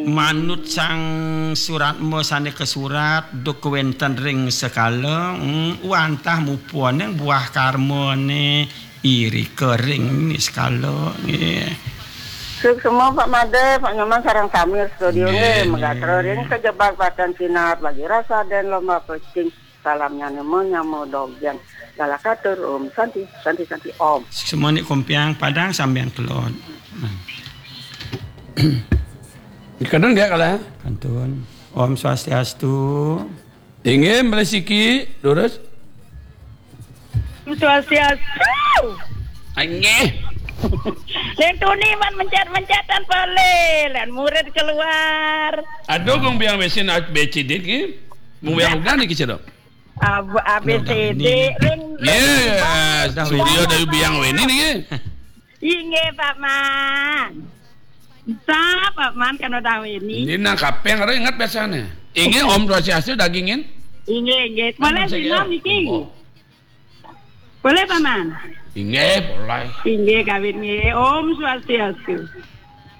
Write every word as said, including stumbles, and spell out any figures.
Manut sang suratma sane kasurat, duk wenten ring sekala, mm, wantah mupaning buah karmane irika ring niskala, nggih. Suksma Pak Made, Pak Nyoman sareng sami studio, nggih, nggih, megatra nggih. Ring kajebag pacang sinah, bagi rasa den lomba pecing. Salamnyane menyama dogyan. Lala katur, Om Santi, Santi, Santi, Om. Semuanya kompiang padang sambiang kelod. Nah. Dikandun nggih, kala? Kantun. Om Swastiastu. Inggih, malih siki, lurus. Om Swastiastu. Inggih. Ning tuni man mencet-mencetan pale, lan murid keluar. Aduh, kung biang mesin A B C D ki. Mung biang udah niki, Cedok. A B C D, ring, ring, yes, ring, studio ring, dari Biang Weni niki. Inggih, Pak Man. Sa, Pak Man, kan udah Weni. Ini nang kapeng, ada ingat biasanya. Inggih, Om Swastiastu, dagingin. Inggih, inggih. Boleh sinau niki? Boleh, Pak Man? Inggih, boleh. Inggih, kawit nggih. Om Swastiastu.